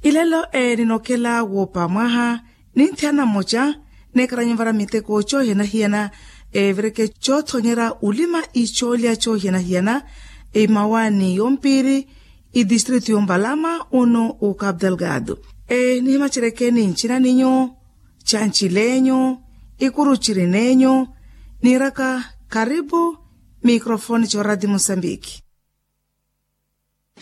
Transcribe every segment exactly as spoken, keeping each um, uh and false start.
Ilelo eninokhela woopa mwaha, ninthiyana mmoca neekaranyi ovara miteko coohiyana-hiyana, evireke coothonyerya olima icoolya coohiyana-hiyana, imawaani yompiiri, itistritu yompalama, uno ukapu delgado. Enihimaceryeke ni ncina ninyu, canci lenyu, ikuru ciri nenyu, niiraka karipu, mikrofoni coorati mosambiki.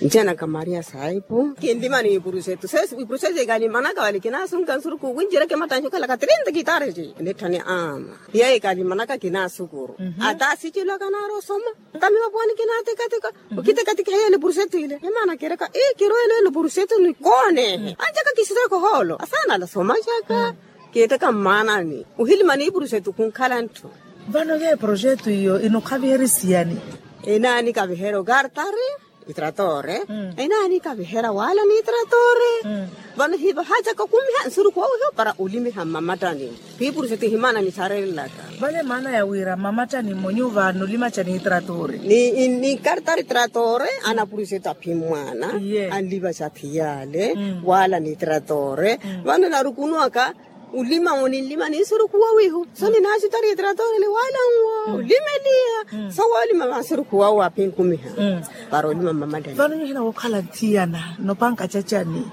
Ncena ka maria saipu kinlima ni ipurusetu sesi ipurusetu ikalimanaka wali kinasunka nsuruku winjireke matanci okhalaka trinta kitareji nitthani ama. Iya ikalimanaka kinasukuru ata sicilwaka naari osoma. Ata mivapuwani kinatikatika okitikatika heyele ipurusetu ile imana kireka ikirwelele ipurusetu ni koonehe anjaka kisitaka ohoolo asanala somacaka. Kiiteka mmaanani ohilima ni ipurusetu khunkhala ntthu. Vano yeeprojetu iyo inokhaviherya isiyani? Inaani kaviherya okartari itratore. Inaani kaviherya wala ni itratore. Vano hiva hacaka okumiha nsuruku wawiho para olimiha mmamattani. Piipurusetu ihimana nitharelelaka. Vale maana ya wira mmamattani mmonyu vano olimacani itratore ni kartari itratore. Anapurusetu aphimmwana anlivaca athiyale wala ni itratore. Vano narukunuwaka olima oninlima ni nsuruku wawihu so ninaacutari itratore ni wala nwo olimeliya. So woolima va nsuruku wawo aphinkumiha para olima mmamattani. Vano nyuhina wookhala nthiyana nopanka cacani?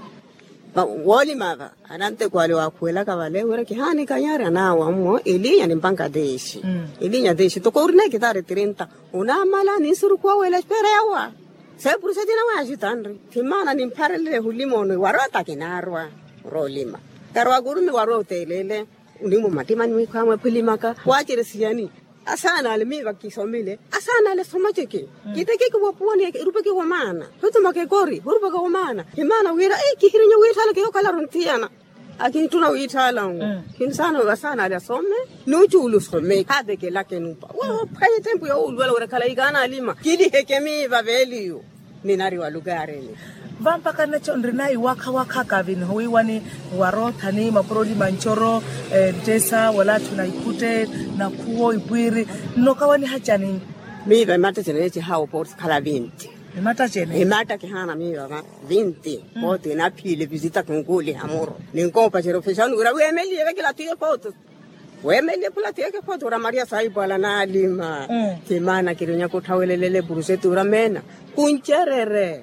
Woolima va ananteko ale waakhuwelaka vale wira kihaanikanyarya naawa mmo elinya ni mpanka tixi. Elinya tixi toko orina ekitari trinta onamala ni nsuruku wawo ela espera yawa. Seepurusetina waaxitanri thimaana nimpharelele hulima ono iwarwa ata kinaarwa. Oroolima karwa kurumi warwa oteelele. Unimwa mattimani mwikhwamwe phulimaka waaceresiyani? Asaana ale miiva kisomile asaana ale somaceke. Kitekeke wapuwani erupeke wa maana. Hutumaka ekori hurupaka wa maana himaana wira kihirinya wiitthalaka yookhala aronthiyana. Akinttuna wiitthalanwo. Kinsaana asaana ale asome nucuula osome khavekelaka enupa. Waphwanya etempu yoowuluwela wira khala ikaana alima kiliheke miiva veeliyo. Ninari wa lukarini. Vampaka nnaco nrina iwakha-wakha kavi nihowiiwani waroothani mapuro olima ncoro. Nttesa wala atthu na ikhutte nakhuwo ipwiiri. Nnokawaniha cani? Miiva imattacene eci haawo pooti khala vinti. Imattacene imatta kihaana miiva va vinti. Pooti inaphiile visita kinkuuliha muru ninkoopacerya ofexani wira weemeliye vekela tiyo pooti. Weemelye phula tiyeke photo ra maria saipwala naalima. Ti maana kirinyaka otthawelelele epurusetu ra meena khuncererye.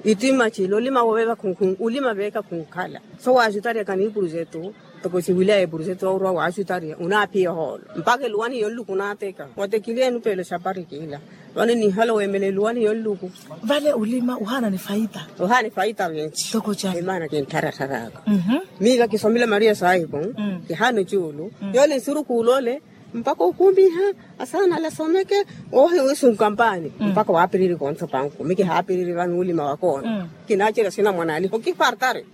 Ittima cila olima wooveva khunkhun olima veeka khunkhala. So waacutaryaka ni ipurusetu toko siwilaya epurusetu orwa waacutarya onaaphiya ohoolo mpakha eluwani yonluku onaateka watekiliya enupeelo xapari kiila. Vano nihala weemela eluwani yonluku. Vale olima ohaana ni faita. Ohaana ni faita vinci. Toko cani? Imaana kinttharattharaka. Miiva kisomile maria saipu. Kihaana ocuulu yoole nsurukuula ole mpakha okumiha asaana ale asomeke. Oohi wiisunka mpaani mpakha waapiriri kontha opanku mi kihaapiriri vano olima wakoona. Kinaacerya sinamwanaali hokipartari.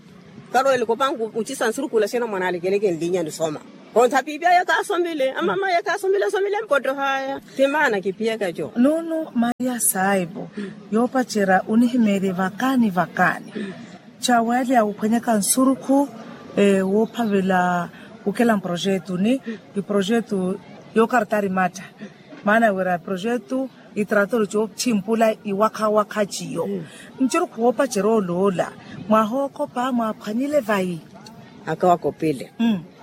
Karweleke opanku ocisa nsurukuula sinamwanaali kele kinlinya nisoma. Kontha piipi aya kaasomile amama aya kaasomile asomile mpottohaya. Ti maana kiphiyaka eco. Nuunu maria saipu yoopacerya onihimeerye vakaani vakaani. Caawalya wuphwanyaka nsurukhu woophavela. Wukhela mprojetu ni iprojetu yookartari matta. Maana wira projetu itratori coothimpula iwakha-wakha ciyo. Nsurukhu woopacerya oloola mwahookhopa mwaaphwanyile vayi? Aka wakopile.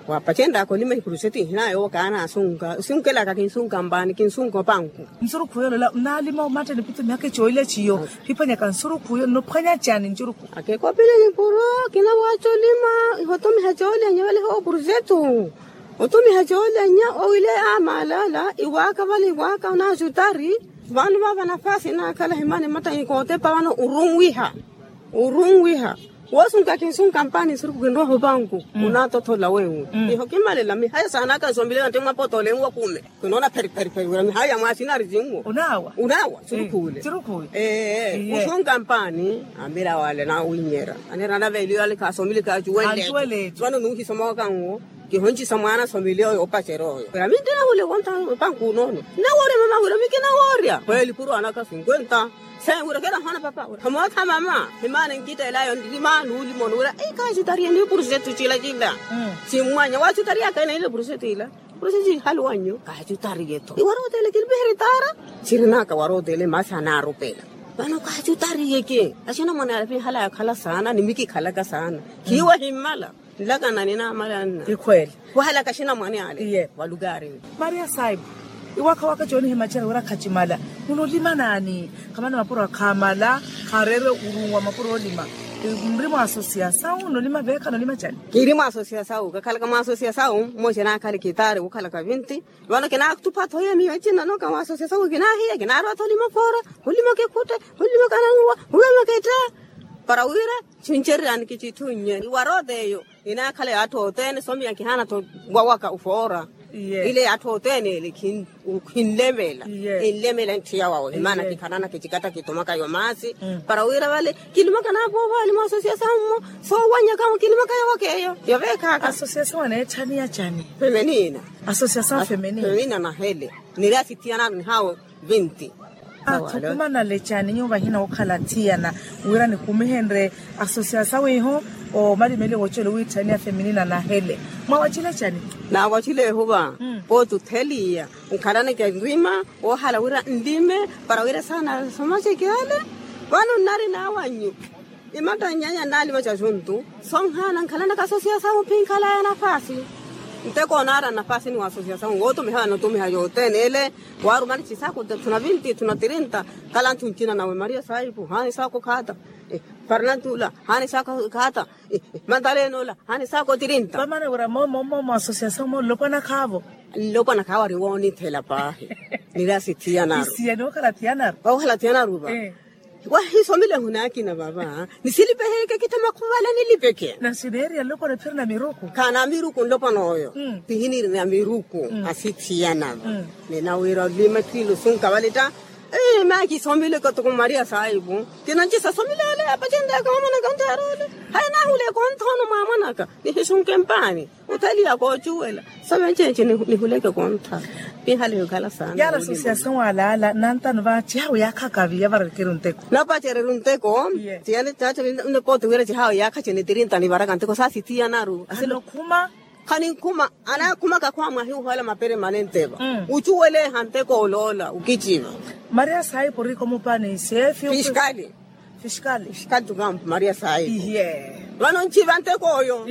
Waapacenraka olima ipurusetu ihinaya yookaana asunka osunkelaka kinsunka mpaani kinsunka opanku. Nsurukhu yolola nnaalima omatta nipitho mihakhe coolya ciyo. Phiphwanyaka nsurukhu yo nnophwanya cani nsurukhu? Akekopile nipuro kinawaaca olima ihotumiha coolya nyevaliha opurusetu. Otumiha coolya nya owile amalala iwaaka vale iwaaka onaacutari. Vano vava nafasi naakhala himani matta nikootepa vano orunwiha. Orunwiha woosunka kinsunka mpaani nsurukhu kinrowa opanku. Onaatothola wenwi iho kimalela mihaya saanaka nsombile nati mwapotole nwakume. Kinoona pheri pheri pheri wira mihaya mwasinari sinwo. Unaawa. Unaawa surukhuule. Surukhuule. Ee usunka mpaani. Amira wale nawinyera anera anaveeliyo ale khaasomile kaacuwele. Vano nuuhisomowaka nwo. Kihoncisa mwaana asomile oyo opacerya oyo wira mintinahule wontha. Opanku unoono nawoorya mama wira mikinawoorya khweeli purwanaka sinkwenta. Seen wira kirahoona papa wira hamootha mama. Himaana nkitteelayo nlima nuulimono wira kaacutariye ni purusetu cila cila. Simmwanya waacutariyaka ena ile purusetu ila. Purusetu cihali wannyu kaacutariye-tho iwarooteele kinipiherya itaara. Cirinaka warooteele maasi anaarupela. Vano kaachutariyeke axinamwane ale pihala yakhala saana ni mikikhalaka saana. Khiiwe himmala nlakana ninaamala nna. Ikhweele. Wahalaka axinamwane ale iye walukari. Maria saibu iwakhawaka cooni himacera wira khacimala. Munolima naani? Khamani mapuro akhaamala. Khaareere urunwa mapuro olima. Nri mwa asosiyasawu nolima veekha nolima cani? Kiri mwa asosiyasawu kakhalaka mwa asosiyasawu. Mmoja naakhale kitaari wukhalaka vinti. Vano kinaatupha-tho hiya miyo ecina noka mwa asosiyasawu kinaahiya kinaarowa-tho olima foora. Olima kikhutte. Olima kananwa. Olima ketta. Para wira chincererani kichithunnye iwarote eyo. Inaakhala yaatthu othene somiya kihaana-tho wawaka ufoora. Ile yaatthu othene ele khinlemela. Khinlemela nthiya wawe himana kikhanana kichikatta kitumaka yo maasi. Para wira vale kilimaka naapoovaali mwa asosiyasawu mmo. Soowanyaka kilimaka yawaka eyo. Yoveekhaka asosiyasawu aneetthaniya cani? Femenina. Asosiyasawu femenina nahele. Niri asithiyana nihawo vinti. Athukumanale cani nyuwo vahina wookhala athiyana wira nikumihenrye asosiyasawu iho? Omalimeli woocelela owiitthaniya femenina nahele. Mwawacile cani? Naawacile ehuva pooti otheliya nkhalaneke nrima woohala wira nlime. Para wira saana somaceke ale. Vano nnari naawannyu imatta nnyanya nnaalima cajuntu. Sonhaana nkhalanaka asosiyasawu phinkhalaya nafaasi. Nteko onaara nafaasi ni wa asosiyasawu wootumiha vano otumiha yothene ele. Waarumani chisaku tthuna vinti tthuna tirinta. Kala nthu ncina nawe maria saipu haani saku khata. Farnantula haani saku khata. Mantalenola haani saku tirinta. Vamana wira momo momo asosiyasawu mo nlopwana khaavo. Nlopwana khaavo ari woonithela paahi. Niri asithiyanaru. Isiya nookhala thiyanaru. Waakhala thiyanaru va. Wahisomile ehuna akina vava. Nisilipeheke kittha makhuvale nilipeke na sineeriya nlopwana phiri na miruku. Khaana miruku nlopwana oyo. Pihiniri na miruku asithiyana va. Ninawiira olima kilusunka vale tta. Maakisomile katuku maria saipu. Kinancisa somile ale apacenreyaka mwamanaka ontaarole. Haya naahule kontha ono mwamanaka nihisunke mpaani. Otheliya koocuwela. Sove nceece nihuleke kontha. Pinhale yokhala saana yaala asosiyasawu alaala nantano va cihawu yaakhaka viya vararikeri onteko. Napacereru nteko. Tiyani caca. Nipoote wira cihawu yaakha cini tirinta nivaraka nteko saasithiyanaru. Khanikhuma. Khanikhuma. Anaakhumaka khwamwahi uhola mapermanente va. Ucuweleha nteko oloola ukiciva. Maria saipu oriko mupani sefi. Fiskali. Fiskali. Fiskali tukampu maria saipu. Vano nciva nteko oyo.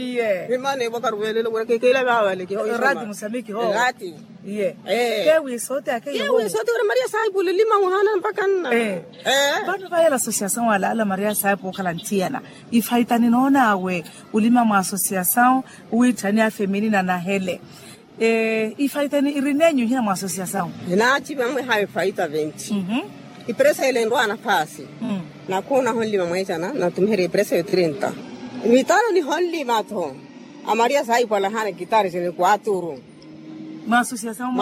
Imana evo karuvelelo wira kekela vavale kiho. Rati musamiki ho. Rati. Kewisote akewisote wira maria saipu ulilima muhana mpaka nna. Vano vayela asosiyasawu alaala maria saipu okhala nthiyana. Ifaita ninoon'awe ulima mwa asosiyasawu. Owiitthaniya femenina nahele. Ifaita iri nenyu hina mwa asosiyasawu. Ninaaciva mweha efaita venti. Ipresa ile nrwaana faasi. Nakhuuna honlima mweecana natumiherya ipresa yo tirinta. Mitano nihonlima-tho. Amaria saipwalahana kitaari sini kwaturu. Mwa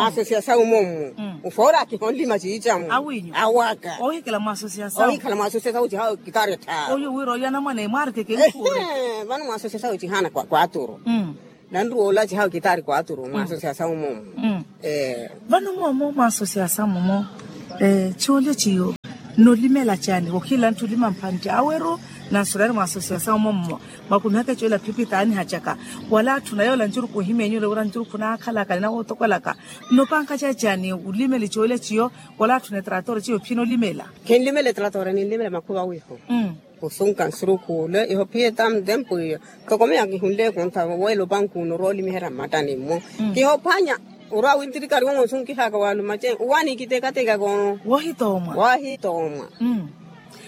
asosiyasawu mommu. Ufoora akihonlima ciicamu awaka. Ohikhala mwa asosiyasawu cihawo kitaari tthaaru. Vano mwa asosiyasawu cihana kwaturu. Nanruwola cihawo kitaari kwaturu mwa asosiyasawu momo. Vano momo mwa asosiyasawu momo. Ciwolya ciyo nnolimela cani wokhila ntthulima mphantti aweru. Nansurari mwa asosiyasawu momo mwakumihaka ciwela phipi taanihacaka wala atthuna yoola ncuruku ohimenyule wira ncuruku naakhalaka ni nawootokwelaka. Nnopanka cacani ulimeli ciwolya ciyo wala atthuna etrator ciyo phinolimela. Khinlimela etrator ninlimela makhuva wiho. Osunka nsurukhule iho phiye tamtempu iyo. Tokomeya kihunle kontha wela opanku uno orwa olimiherya mmattani mmo. Kihophwanya orwa wintirikari wongo nsunkihaka waluma ce uwani kitekateka kono. Wahitoomwa. Wahitoomwa.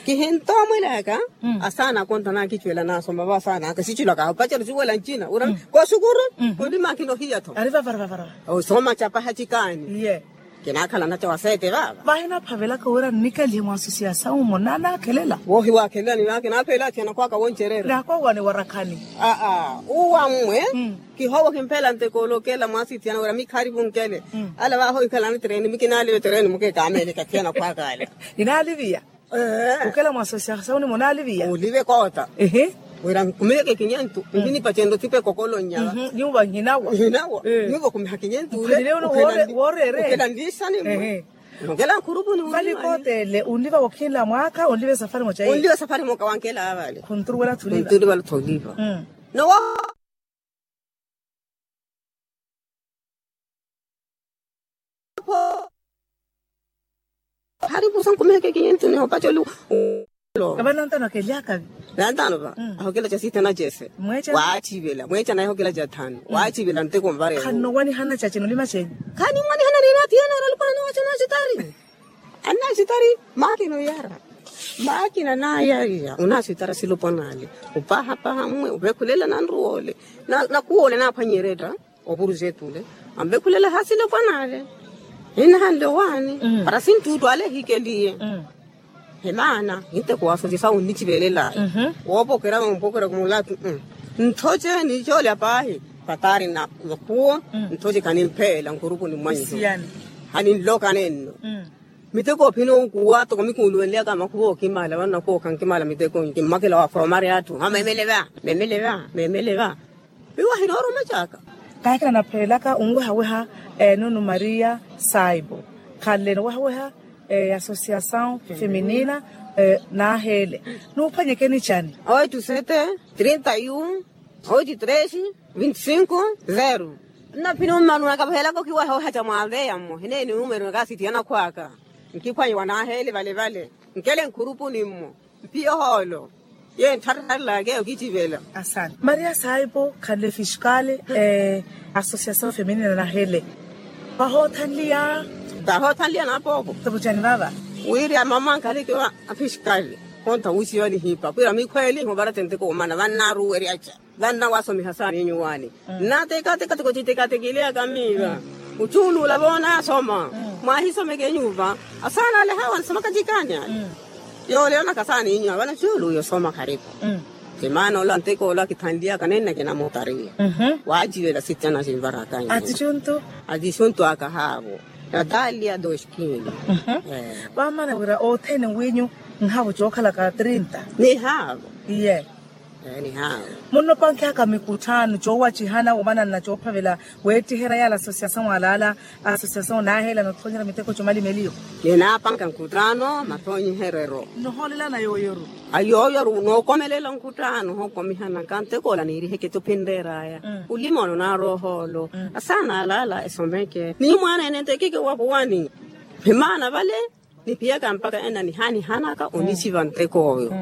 Kihintoomwelaka. Asaana kontha nakicuwela nasoma va asaana aka sicilwaka aho paceru siwela ncina wira kosukuru. Olima akinohiya-tho. Ari vavaravavarava. Osoma capaha cikaani. Iye. Kinaakhala naca wa sete vava. Vahinaphavelaka wira nnikalihe mwa asosiyasawu omo naanaakhelela. Wohi waakhelela ni vakinaphelela athiyana khwaka woncerera. Naakwawane warakhani. Aa uwa mmwe. Kihowo kimphelela nteko olokela mwa asithiyana wira mikharipu nkele. Ala vaho ikhalani tereni mikinalive tereni mukekamele kathiyana khwaka ala. Inaaliviya. Ukela mwa asosiyasawu ni munaaliviya olive koota. Wira nkumiheke kinyentu. Nkhinipacenre othipa ekokolo nnyava. Nyuva nhinawa. Nhinawa. Nyuva okumiha kinyentu ule. Ukela nlisani mwe. Nokela nkhurupuni vali kootele unliva wokhinla mwaaka unliva esafari moca unliva esafari moka wankela avale khunturuwela thuliva. Nowo. Haripusa nkumiheke kinyentu. Opacoli. Kavana ntano akelyakavi. Nantano va. Ahokela ca sita na jese. Waachivela mweeca naye ahokela ca thanu waachivela nteko nvareho. Khanno wanihana ca cino lima cenyu. Khani mwanihana nina thiyana oralupana na waca na citari. Anna citari. Makina oyara. Makina nayariya ona citara silupana ale. Upahapaha mwe uvekhulela nanruwole. Nakuwole naphwanyeretta. Opurujetu ole. Anvekhulela hasilopwana ale. Inahanle owaani para sinttuttu ale ehikeliye. He maana ninteko wa asosiasawu onnichivelelaye. Woopokerya woopokerya kumulatu. Nthoce niicoolya paahi. Patari na makhuwo. Nthoce khanimpeela nkhurupuni mwanyu. Haninlokane nno. Miteko ophina okuwa toko mikuuluwenlyaka makhuwa okimala vano nakuwa okhankimala miteko nkimmwakela wa foromari atthu ha memele va. Memele va memele va. Miwahi nooruma caka. Kaakina naphelelaka onwehaweha. Nunu maria saibo khanle nowehaweha. Asosiasawu feminina. Naaheele nuuphwanyekeni cani? Oitu sete trinta yu oitu tresi vinti sinku. Zeru. Nnaphini ommanu nakapahelaka okiwaha ohaca mwaveya mmo hineeni numero nakaasitiyana khwaka. Nkiphwanyi wanaaheele vale vale nkele nkhurupuni mmo. Mpiya ohoolo. Ye ntthartharelaka eyo kitivela. Maria saipo khanle fiskale. Asosiasawu feminina nahele. Vahoothanliya. Vahoothanliya naapoopo. Topocani vava. Wiri amama nkhaleke wa afiskale. Hontha wuusiwa nihipa kwira mikhweeli hovarate nteko omana vannaaruweryaca. Vanna wasomiha saana inyuwaani. Nnatekateka tiko citekatekileyaka miiva. Ocuuluula voona asoma. Mwahisomeke inyuva. Asaana ale hawa nisomaka cikaani ale. Yooleyanaka saana inyuva vano cuuluuya osoma kharipu. Ti maana ola nteko ola kithanliyaka nenne kinamutariya. Waacivela sitiyana sinvaraka. Atichuntu. Atichuntu aka haavo. Natalia doskini. Vamana wira othene winyu. Nhaavo cookhalaka trinta. Nihaavo. Iye. Munnopankhihaka mikutthano coowacihana omana nna coophavela. Weettiherya yaala asosiasawu alaala asosiasawu naaheela nothonyerya miteko comalimeliyo. Ninaapanka nkutthano mathoonyiherero. Nohoolelana yooyoru. Ayooyoru nookomelela nkutthano hookomihanaka nteko ola niiriheke tophinreeraya. Ulimono naaroohoolo. Asaana alaala esomeke ni mwaana ene ntekeke wapuwani. Himaana vale. Niphiyaka mpakha enna nihaanihanaka onichiva nteko oyo.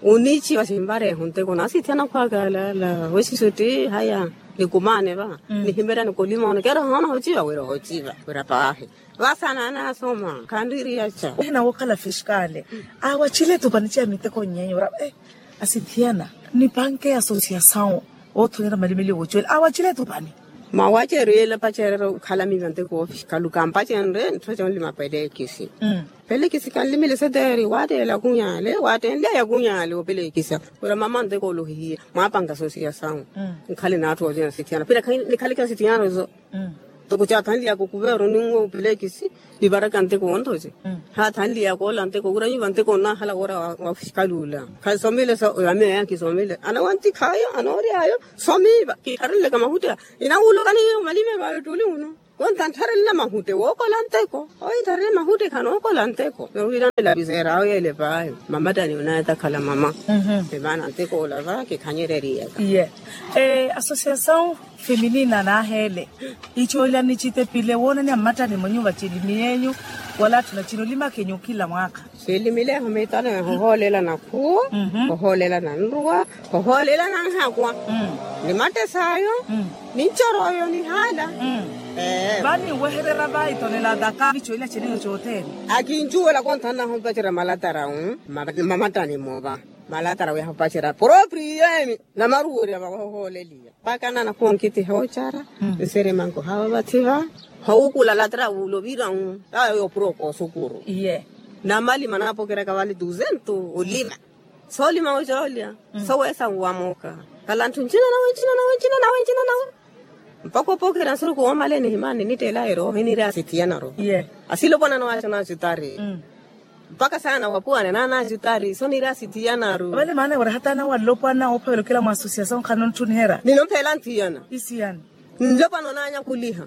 Onichiva sinvareeho nteko naasithiyana khwaka alaala wesiso tti haya. Nikumaane va nihimeryani kolimono keera hoona hociva wira hociva wira paahi. Vasaana anaasoma khanriiriyaca. Ehina wookhala fiskale. Awacile tupani ceya miteko nyenyora. Asithiyana nipanke asosiasawu. Oothonyera malimeliyo wocuwela awacile tupani. Mwawaceriyela pacerera okhala miiva nteko ofiskalu kampacenre ntthu conlima pelekisi. Pelekisi kanlimile seteeri waatteyela kunyale waattenlya yakunyale opelekisa. Wira mama nteko olohihiye mwaapanka sosiasawu. Nkhale n'atthu oocina sithiyana pira nikhaleke sithiyana ozo. Toko caathanliyaka okuveero ninwe opelekisi. Nivaraka nteko onthoce. Haathanliyaka ola nteko wira nyuva nteko onaahala woora wa fiskaluula. Khasomile sa oyo amiyo aya nkisomile anawantikhaayo anooryaayo. Somiiva kiikharelelaka mahutte. Inawuulukani hiyo malime vawe ttuli uno. Wontha nttharelena mahutte wookola nteko. Oyo ntharele mahutte khanookola nteko nowiirana elapiseeraawe yeele paayo. Mamattani onaye takhala mama. Emaana nteko ola va kikhanyereriyaka. Iye. Asosiasawu feminina naaheele. Icoolya nicitepile woonani ammattani mwenyuva cilimi yenyu. Wala atthu na cino limakhenyu khila mwaakha. Siilimileho miitano eho ohoolela nakhuwo. Ohoolela nanruwa. Ohoolela nanhakwa. Ni mattesaayo. Ni ncoroyo nihaala. Vani nwehererya va itonela taka nicoolya ceniyo cothene. Akincuwela konthanna hompacerya malatara. Mamattani mova malatara wiya hopacerya propriyo eni. Namaruwerya vahohooleliya. Mpakha nana khoonkitiha ocara. Nsiri manko hawa vathi va howukula latra wuulovira. Tawa yoopura okoosukuru. Iye. Namalima naapokeryaka vale duzentu olima. Soolima ocoolya. Soweesa nwamoka. Kala ntthu ncina nawe ncina nawe ncina nawe ncina nawe. Mpakha opokerya nsuruku woomale nihimani nitteela erooho iniiri asithiyanaru. Iye. Asilopwana nawaaca naacutari. Mpakha saana wapuwane naana acutari soniiri asithiyanaru. Vale maana wira hata nawe allopwana oophavela okila mwa asosiasawu nkhano ntthuniherya. Ninompheela nthiyana. Isiyani. Nlopwana onaanyakuliha.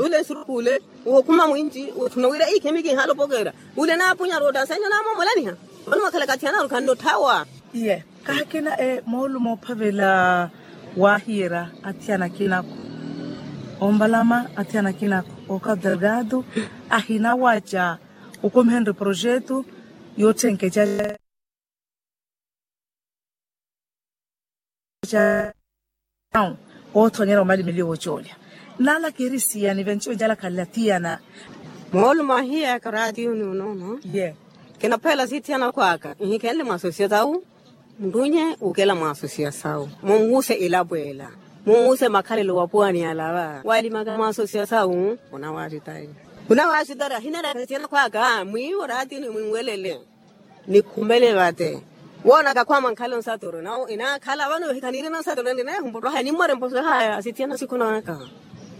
Ule nsurukule. Wookhuma mwinci woothuna wira ikhimi kiihalopokerya. Ule naapunyaru ottasenyo naamomolaniha. Vano mwakhala kathiyanaru khannotthawa. Iye. Kahakina moolu moophavela waahiyerya athiyana akinako. Ombalama athiyana akinako. Okadergado ahinawaca. Okomihenrye projetu. Yootthenkeca ca ca othonyera omalimeliwa ocoolya. Nala kirisiya nivenci onjalakhalela thiyana. Moolumo ahiyaka oraatiyo ni onoono ye. Kinaphela sithiyana khwaka nhikhenle mwa asosiyasawu. Nrunye ukela mwa asosiyasawu munwuse ilapwela. Munwuse makhalelo wapuwani yalava walimaka mwa asosiyasawu. Khunawasitari khunawasitari ahinera sithiyana khwaka mwiiwo oraatiyo ni mwinwelele. Nikhumele vate woonaka khwama nkhala onsatoro nawo inakhala vano vehikhanirina onsatoro ninaye humpotto haya nimmware mpotto haya asithiyana sikhunaka.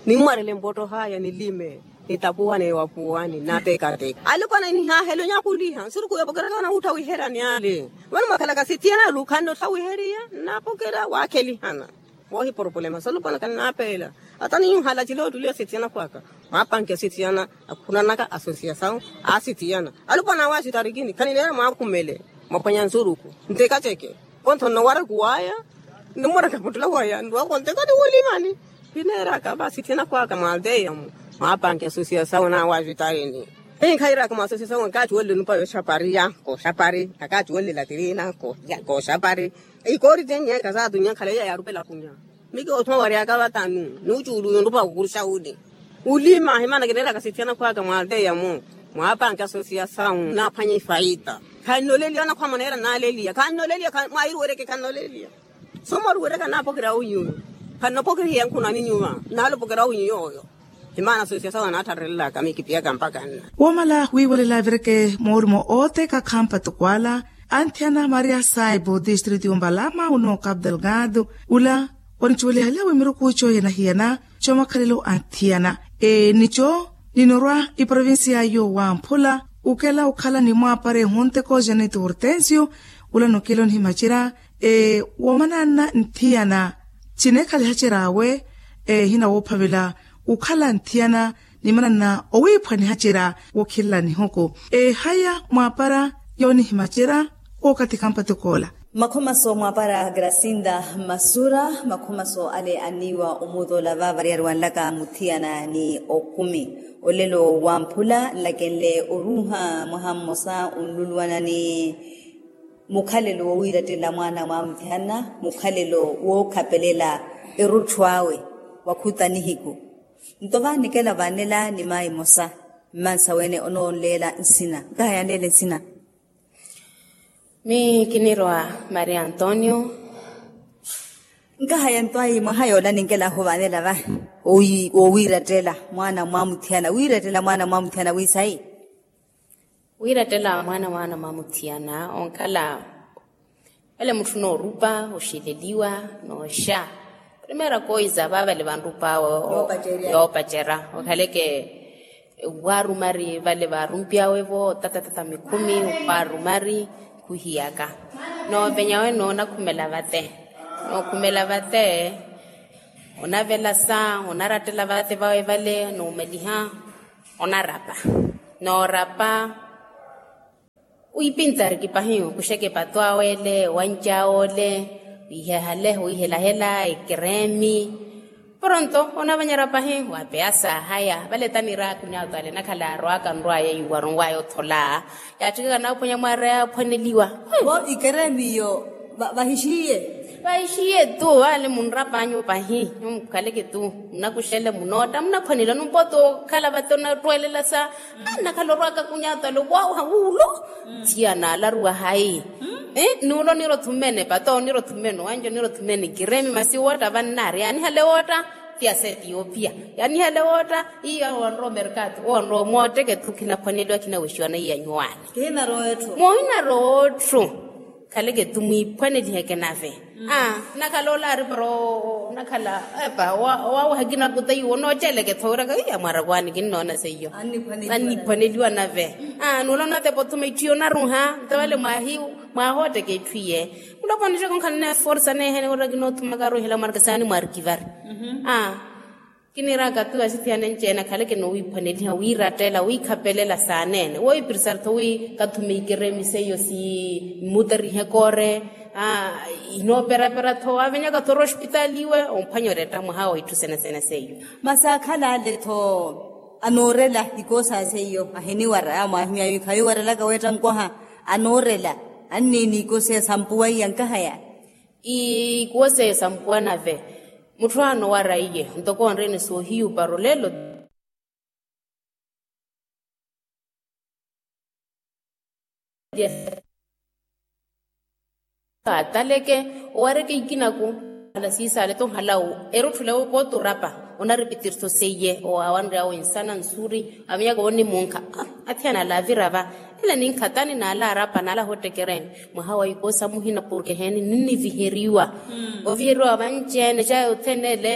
Nimmwarele mpotto haya nilime nitapuwane wapuwani natekateka alipwana nihahelo nyakuliha nsuruku yopokeraka nawuttha wiherani ale. Vano mwakhalaka asithiyana lukhanne ottha wiheriya napokera wakhelihana. Wohi porupulema solupwana kannapeela. Ata ninhala cila ottuli asithiyana khwaka mwapanke asithiyana akhunanaka asosiyasawu. Asithiyana alupwana awe asitarikini khanineera mwakhumele mwaphwanya nsuruku ntekaceke. Konthonno waraku waya nimuraka muttula waya nrwako ntekani wulimani. Khineeraka va asithiyana khwaka mwalteyamu mwapanke asosiyasawu nawe asitarikini. Hinkhairaka mwa asosiyasawu akaati wolile onupa yoxapari ya koxapari akaati wolile latirina koxapari. Ikoori tennyeeka saatunyakhala iya yaarupela kunya. Miki othuma wariyaka vatanu nucuulu yonrupa kukuruxa uli. Ulima himana kineeraka sithiyana khwaka mwalteyamu mwapanke asosiyasawu naphwanye ifaita. Khannoleliya anakhwama neera naaleliya khannoleliya. Mwahiruwereke khannoleliya. Somoruwereka naapokera winyuyo. Khannopokerihiya nkhunani nyuva naalopokerya winyuyo oyo. Himana asosiyasawu anaattharerelaka mikipiyaka mpaka nna. Woomala wiiwelela avireke moorumo ooteka khampa tukwala. Anthiyana maria saibo distritu yombalama uno capu delgado ula onicuwelihaliya wi miruku ico yanahiyana. Comakhalelo anthiyana nico ninorwa iprovincia yo wamphula ukela okhala ni mwaapare honteko janito hortensio ula nokela onihimacera. Woomananna nthiyana cineekhalihacer'awe ehina woophavela okhala nthiyana nimananna owiiphwanihacerya wookhelela nihuku. Ehaya mwaapara yoonihimacera wookathi khampatukoola. Makhomaso mwaapara grasinda masura makhomaso ale aniiwa omuutola vavariyari wanlaka muthiyana ni okumi. Olelo wamphula nlakenle oruuha mwaha mmosa onluluwana ni mukhalelo wowiirattela mwaana mwamuthiyana mukhalelo wookhapelela erutthu awe. Wa khuta nihiku nto vanikela vanela ni mayi mosa. Mmansa wene onoonleela nsina nkahaya neele nsina. Miyo kinirwa maria antonio. Nkahaya nto ayi mwaha yoola ninkelahu vanela vahi wowiirattela mwaana mwamuthiyana wiirattela mwaana mwamuthiyana wiisayi. Wiirattela mwaana mwaana mwamuthiyana onkhala vale mutthu noorupa oxileliwa nooxa primeira coisa vaavale vanrup'awe. Yoopacerya okhaleke waarumari vale vaarumpiyawe-vo otatatata mikhumi waarumari khuhiyaka. Noovenya wene onakhumela vate nookhumela vate onavelasa onarattela vate vawe vale noomaliha onarapa noorapa. Wiipintsari kipahi okuxeke epato awe ele owanci awe ole wiihehale wiihelahela ekereemi. Poronto onavanyerya pahi waapeya saahaya vale taniira akunyaato ale nakhala arwaka nrwaya iwaronwaya othola. Yaatthikaka naaphonya mwaara yaaphwaneliwa. Vo ikereemi iyo vahixiye. Vahixiye tu vale munrapanyu pahi. Mukhaleke tu munakuxele munootta munaphwaneliwa numpooti okhala vate onattweelela sa. Nnakhala orwaka kunyatwale owawaha wuulo. Thiya naalaruwa hayi. Nuulo niira othumene pato niira othumene owanjo niira othumene kiremi masi wootta vannaari yaanihale wootta. Thiya sa etiyopiya yaanihale wootta. Iyo owanrowa omerkatu owanrowa omootteke tu khinaphwaneliwa khinawexiwa naiya nyuwaani. Moohinarootthu. Khaleke tu mwiiphwaneliheke nave. Nakhala olaari para onakhala epa owawaha kinakuta iwo nooceleke tho wiraka iya mwarakwaani kinnoona seiyo. Anniphwaneliwa nave. Nuula onatepa othuma itthu iyo onaruha nto vale mwaahootteke itthu iye. Muloponi xekonkhala neeforsa neehene wiraka kinoothumaka aruhela mwaraka saani mwaarikivari. Kiniiraka tu asithiyana enci-ene akhaleke noowiiphwaneliha wiirattela wiikhapelela saaneene woowiipirisari-tho wi kathume ikeremise iyo si mmuterihe koore. Inooperapera-tho waavenyaka-tho orospitaali iwe omphwanya oretta mwaha wa itthu sene-sene seiyo. Masi akhala ale-tho anoorela ikoosa seiyo ahiniwara yaamwaahimya yu khayiwarelaka weetta nkoha. Anoorela anniini ikuwo seiya sampuwa iya nkahaya. Ikuwo seiya sampuwa nave mutthu anowara iye ntoko onreene soohiyupa rolelo. Kaataleke owareke ikinaku ala siisale to nhalawu erutthule wo pooti orapa onaripitiriso seiye owawanryawo ensana nsuri. Aminyaka wonimunkha athiyana ala avirava ela ninkhatani n'ala arapa n'ala ahottekereeni mwaha wa ikoosa muhina porke heeni ninniviheriwa oviheriwa vanci-ene cayi othene ele.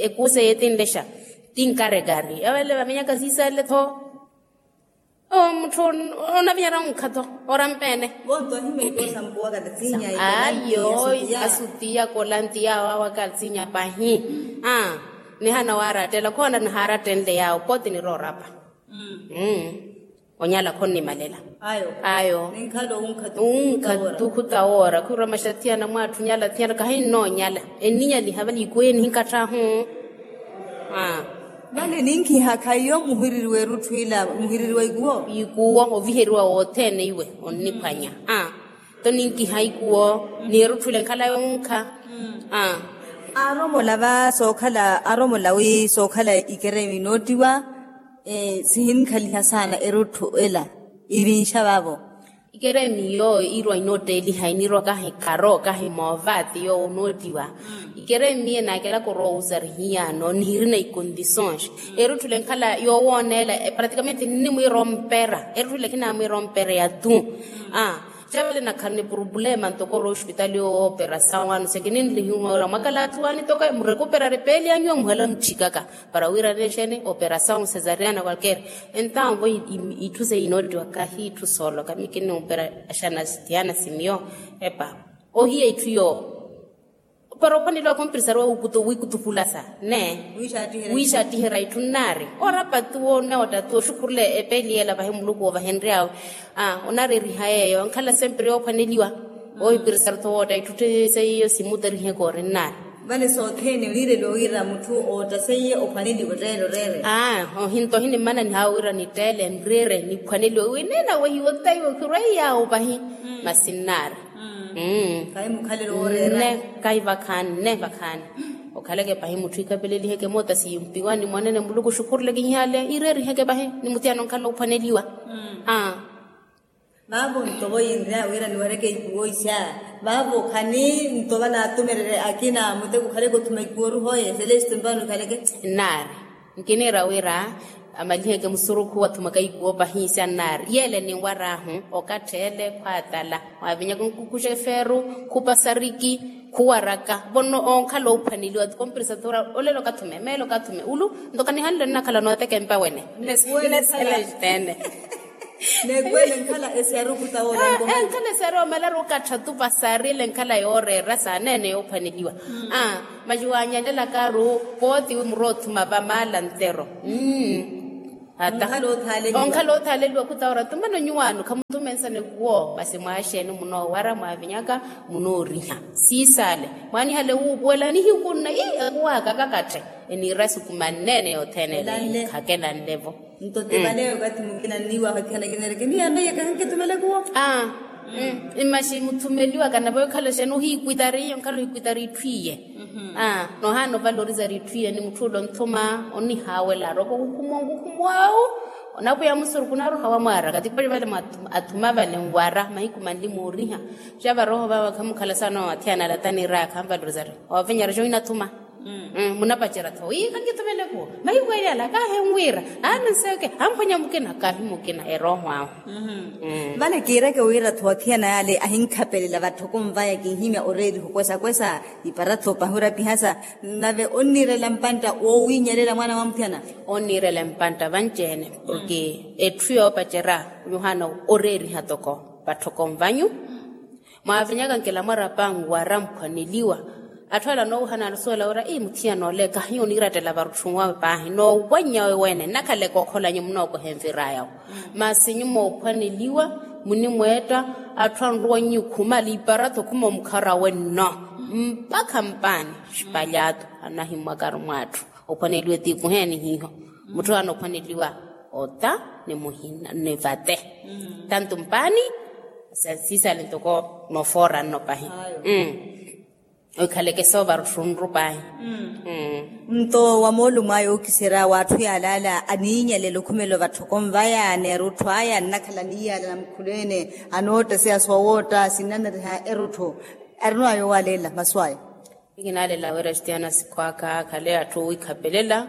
Ekoosa eyetinlexa tinkarekari avele vamenyaka siisale tho. Mutthu onavinyara onkha tho orampene. Ayo asutiya kolantiya awo awo akasinya pahi. Nihana waarattela khoona nihaarattenle yawo pooti nirorapa. Onyala khonnimalela. Ayo unkha tukhu tawoora khuramaxa thiyana mwatthu nyala thiyana kahinnoonyala enninyaliha vale ikuwo enihinkatth'ahu. Vale ninkhiha khaiyo muhiriri w'erutthu ila muhiriri wa ikuwo. Ikuwo oviheriwa wothene iwe onniphwanya. Nto ninkiha ikuwo ni erutthu ile nkhala yonkha. Aaromola va sookhala aaromola wi sookhala ikeremi noottiwa. Sihinkhaliha saana erutthu ela ivinxa vavo. Ikeremi yooyo iirwa inootteeliha iniirwa kahi kharo kahi moova ti yoowo onoottiwa. Ikeremi ye naakelaka orwa owusa rihiyaano nihirina ikondisons. Erutthule nkhala yoowooneela pratikamente nnimwiira ompera erutthule khinamwiira ompera ya tu. Xavale nakhala ni purupulema ntoko orwa ospitali yoowo operasawu ano sekininlihiwa ora mwakala atthu waani toka murekupera ari peeli anyu omuhela mutthikaka para wira neexeni operasawu sesariana kwalkeera. Entawo vo itthu seiya inoottiwa kahi itthu sooloka mikinni operasawu sitiyana simiyo. Epa ohiya itthu yoowo para ophwaneliwa kompirisari wa wikutukulasa ne wiixattiherya itthu nnaari orapattuwa onoottatuwa oxukhurula epeeli yeela vahi muluku woovahenry'awe. Onareeriha yeeyo onkhala sempre yoophwaneliwa ohipirisari tho wootta itthu seiyo simuteriheke ori nnaari. Vale sothene oniireliwa wira mutthu ootta seiye ophwaneliwe tteele oreere. Ohinto ohinimmana nihawa wira nitteele nreere niphwaneliwe wineena wehiwe ottaiwe khirweiyawo pahi. Masi nnaari. Kahi mukhalelo wooreera. Nne kahi vakhaani nne vakhaani okhaleke pahi mutthu ikhapeleliheke moota simpiwani mwanene muluku oxukhuruleke ihaale ireeriheke pahi ni muthiyana onkhala ophwaneliwa. Vaavo nto vo yinrya wira niwareke ikuwo ixa vaavo khani nto vanatumererye akina muteko okhaleke othuma ikuwo oruhoye seleste mpano ikhaleke. Nnaari nkiniira wira amaliheke musurukhu wathumaka ikuwo pahi ixa nnaari yeele ninwar'ahu okattha ele khwaatala mwavinyaka onkukuxa efeeru khupasariki khuwaraka vo onkhala oophwaneliwa ti kompirisa thora olelo okathume meelo okathume ulu nto kanihanle nnakhala nooteka empa wene. Nneselexitene. Nekwele nkhala esiyaru okutawola enkhala esiyaru omalaru okattha tupasari ele nkhala yooreera saaneene yoophwaneliwa. Maxiwanyalelakaru pooti wi muroothuma vamaala ntero. Ata onkhala othaaleliwa khutawoora tumano nyuwaano khamuthume nsana ekuwo masi mwaaxeeni munoowara mwaavinyaka munooriha siisaale mwaanihale wuupuwela nihiku nna ii ekuwaka kakatthe eniira suku manneene yothene ele khakelanlevo. Nto ti vale okathi mukina nniiwaha othihana kineereke miyo ameiye kahinkithumela ekuwo. Mmaxi muthumeliwaka nave okhala oxeeni ohiikwitari iyo nkhala ohiikwitari itthu iye. Nohaana ovalorizari itthu iye ni mutthu ole onthuma onnihaawela aroko ohukhumwa onkukhumw'awu onapwiya musurukhu naruha wamwaaraka ti pali vale athuma vale nwara mahiku manli mooriha. Xa varooho vava khamukhala saana owathiyana alatani iraya khanvalorizari owavenyara xo inathuma. Munapacerya tho wi khankithumela ekuwo mahiku ela kahi enwira aana nseke amphwanya mukina kahi mukina erooho awe. Vale kiireke wira tho athiyana yale ahinkhapelela vatthokomvaya kinhimya oreeriha okwesakwesa ipara tho pahi orapihasa nave onniirela mpantta woowinyalela mwaana wa muthiyana. Onniirela mpantta vanci-ene porke etthu yoopacerya yohana oreeriha toko vatthokomvanyu. Mwaavinyaka nkela mwarapa nwara mphwaneliwa atthu ale anoowuhana alusuwela wira ii muthiyana ole kahiyo oniirattela varutthu wawe paahi noowanyawe wene nnakhaleke okholanyu munookoha envir'ayawo. Masi nyuma oophwaneliwa munimweetta atthu anruwannyu khumala iparato khuma omukhar'awe nno mpakha mpaani xipalyaatu anahimmwakaru mw'atthu. Ophwaneliwa etiikuheeni hiiho mutthu aana ophwaneliwa ota. ni muhina ni vate. Tantu mpaani siisale ntoko nofoora nno pahi. Oikhaleke soovaru tthunru pahi. Nto wa moolumo aya ookiserya w'atthu yaalaala aniinyalela okhumela ovatthokonvaya ni erutthu aya annakhala aniyaalana mukhulweene. Anootta siya soowootta sinnanariha erutthu. Arino aya owaaleela masu aya. Ikinaalela wira estiyana sikhwaka akhale atthu owiikhapelela.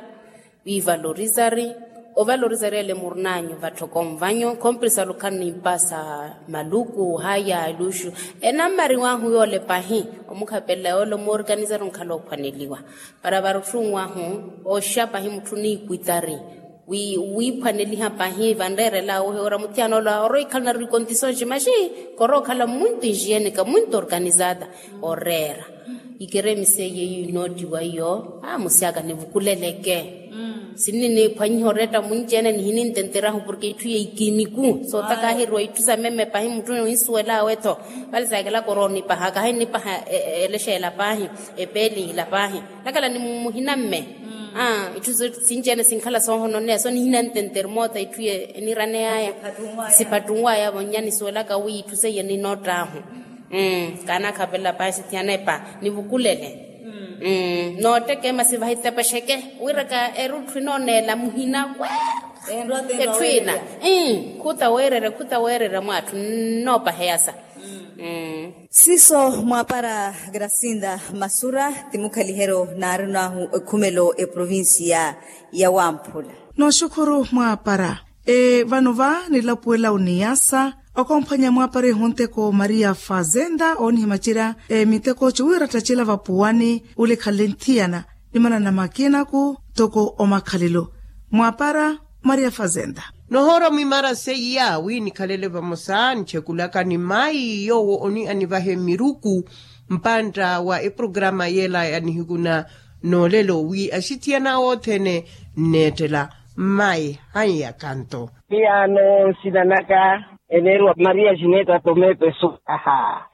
Wiivalorizari ovalorizari ele murinanyu vatthoko nvanyu khompirisa lukhannimpasa maluku haya eluxu. Enammariwahu yoole pahi omukhapelela yoole omoorkanizari onkhala oophwaneliwa. Para varutthu nwahu oxa pahi mutthu niikwitari wiiphwaneliha pahi vanreerela wohiwera muthiyana ola oroikhala nari kondisonxi maxi korookhala muntu inxiyeneka muntu organizada oreera. Ikeremisa eyo eyo inoottiwa iyo amusi aka nivukuleleke. Sinni niiphwanyiha oretta munci-ene nihinintenterahu porke itthu ya ikimiku sootaka ahiriwa itthu sa meme pahi mutthu onsuwel'awe-tho. Vale saakela koroonipaha kahinnipaha elexeela paahi epeelihila paahi. Nakhala ni muhina mme itthu sinci-ene sinkhala soohononeya so nihinantentere moota itthu ye eniraney'aya. Siphattunw'aya vonnya nisuwelaka wi itthu seiye ninoott'ahu. Kaanakhapelela pahi sithiyanepa nivukulele. Noottekema sivahitepexeke wiraka erutthu inooneela muhina kwe etthu ina. Khuta weererya khuta weererya mwaatthu nnoopaheyasa. Siiso mwaapara grasinda masura ti mukhaliheryo naarin'ahu ekhumelo eprovincia ya wamphula. Nooxukhuru mwaapara. Vano va nilapuwela oniyasa okomphwanya mwaapara ehonteko maria fazenda oonihimacerya miteko ciwira ttacerya vapuwani ulikhale nthiyana. Nimanana makinaku ntoko omakhalelo mwaapara maria fazenda. Nohoora mwimara seiya wi nikhalele vamosa nchekulaka ni mayi yoowo oni anivahe miruku mpantta wa eprograma yela ya nihiku na noolelo wi axithiyana othene nneettela. Mmayi hanyaka nto. Miyaano nsina naka eneeriwa maria jineta tome pesu. Aha.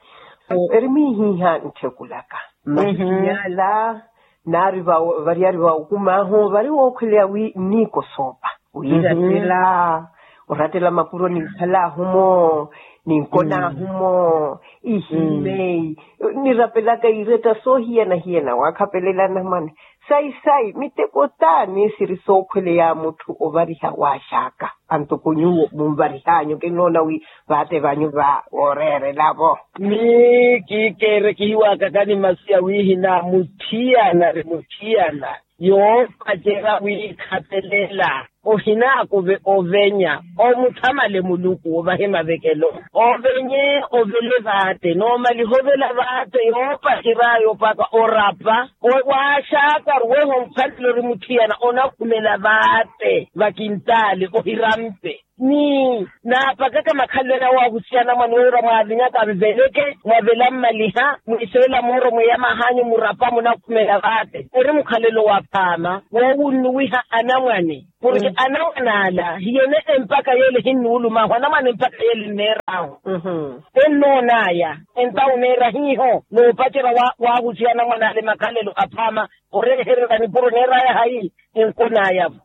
Eri mwihiha ntthukulaka mmahinyala naari variyari va okum'ahu vari wookhweleya wi nniikosoopa wiirattela orattela mapuro ninkhal'ahu-mo ninkon'ahu-mo ihimeyi nirapelaka iretta soohiyana-hiyana waakhapelela anamwane. Sayi-sayi miteko t'ani siri sookhweleya mutthu ovariha waaxaka antuku nyuwo munvarih'anyu kinnoona wi vaatte vanyu va wooreerela-vo. Miyo kiikeere kihiwaakaka ni masi ya wihina mutthiyana ri mutthiyana yoopacerya wiikhapelela ohinaakuve ovenya omuthamale muluku ovahe mavekelo ovenye ovele vaatte noomaliha ovela vaatte yoopacery'aya opaka orapa waaxaka ruweho mukhalelo ori mutthiyana onakhumela vaatte vakintaale ohirampe. Ni naapakaka makhalelo ene awaahusiya anamwane wira mwaavinyaka mveleke mwavela mmaliha mwiiseela mooro mweeyamah'anyu murapa munakhumela vaatte eri mukhalelo waphaama woowunnuwiha anamwane. Porke anamwane ala hiyene empaka yeele hinnuulum'ahu anamwane empaka yeele nneer'ahu. Ennoon'aya entawu neera hiiho noopacerya waahusiya anamwane ala emakhalelo aphaama oreehererya nipuro neer'aya hayi. Enkon'aya-vo.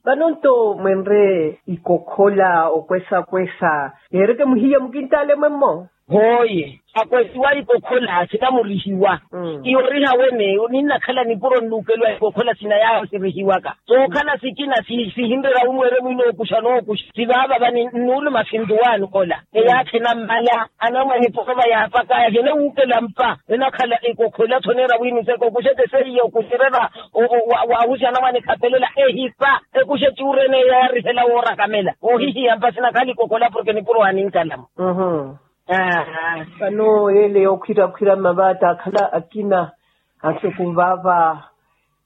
Vano nto mwenre ikokhola okwesa-kwesa yeereke muhiya mukintaale mwemmo. Hooye akwesiwa ikokhola sinamurihiwa. Iyoriha wene ninnakhala nipuro nnuukeliwa ikokhola sina yaawo sirihiwaka sookhala sikina sihinrerya wimweerya mwinookuxa nookuxa sivaavava ninnuuluma sintuwaani ola. Eyaakhe nammala anamwane porova yaapak'aya hiyene wuukela mpa enakhala ekokhola tho neera wi niseke okuxeke seiya okuxererya waahusi anamwane ekhapelela ehipa ekuxe cuurene yaarihela woorakamela ohihiya mpa sinakhala ekokhola porke nipuro aninkalamo. Vano yeele yookhwira-khwira mmavaatta akhala akina ansuku vaava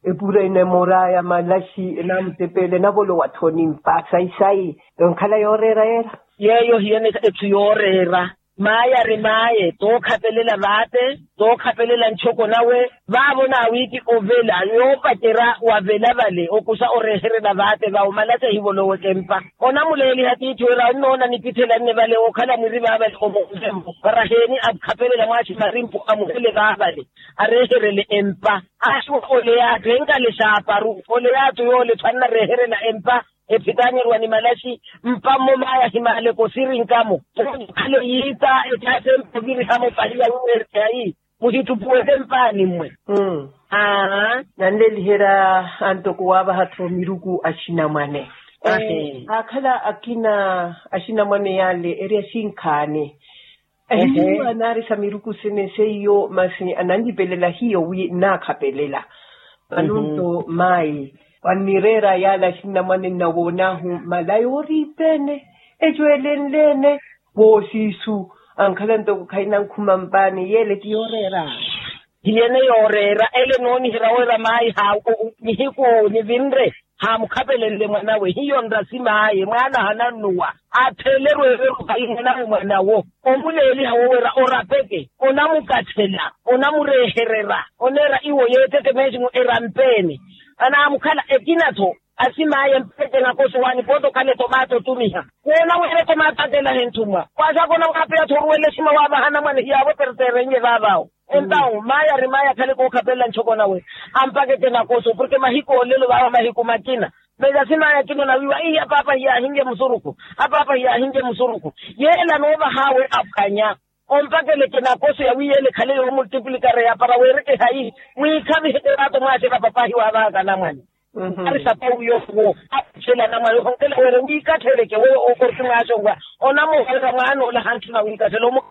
epura ina emoor'aya malaxi enaamutepeela enavolowa-tho onimpa sayi-sayi. Enkhala yooreera yeera. Yeeyo hiyene etthu yooreera maayari maaye tookhapelela vaatte tookhapelela nchoko nawe vaavo naawiiki ovela yoopacerya wavela vale okuxa oreeherela vaatte vawo malaxi ehivoloweke mpa. Onamuleeliha tiithi wira onnoona nipitthela nne vale wookhala mwiri vaavale omoonve-vo para heeni akhapelela mwaaxi marimpu amuhele vaavale areeherele empa. Axuwa ole yaattu enkale xaaparu ole yaattu yoole-tho annareeherela empa. ephitanyeriwa ni malaxi. Mpammo maaya ahimaaleke osirinka-mo. Khale yiita ecaasa empa ovirihamo pahiya wiweereke hayi muhittupuweke mpaani-mmwe. Aa. Nanleliherya antoko waavaha-tho miruku axinamwane. Aakhala akina axinamwane yale eri axinkhaani. Ehiiwa naarisa miruku sene seiyo masi ananlipelela hiyo wi nnaakhapelela. Vano-nto maayi wannireera yale axinamwane nnawoon'ahu mala yooriipeene ecwelenleene. Voosiisu ankhala ntoko khainankhuma mpaani yele ti yooreera. Hiyene yooreera ele nooniherya wira maayi nihiku nivinre haamukhapelenle mwanawe hiyo nrasi maaye mwaana hanannuwa. Atheelerwe eweru hayi mwanawe mwanawo omuleeliha wowira orapeke onamukathela onamureeherera oneera iwo yeeteke meesimu erampeene. Anaamukhala ekina-tho asimaaye mpeke nakoso waani pooti okhala etomaato otumiha woona wira etomaato atelaha enthumwa. Kwaasaaka onamwaapeya-tho oruwela esima waavaha anamwane hiyaawo eperteerenye vaavawo. Entawu maaya ari maaya akhale kookhapelela ntxoko nawe ampakeke nakoso porke mahiku olelo vaava mahiku makina. Mesa simaya kino nawiiwa ihi apaapa hiyaahinke musurukhu. Apaapa hiyaahinke musurukhu yeela noovahaawe aphwanya ompakeleke nakoso yawiiyele ekhale yoomultiplikare yapara weereke hayi mwiikhavihe terato mwaaxela papahi waavahaka anamwane. Ari sapawu yoowo aphwela anamwane ohonkela weere wiikatheleke weyo okorti mwaaxonwa onamuhorera mwaana ola hantthuna wiikathela omu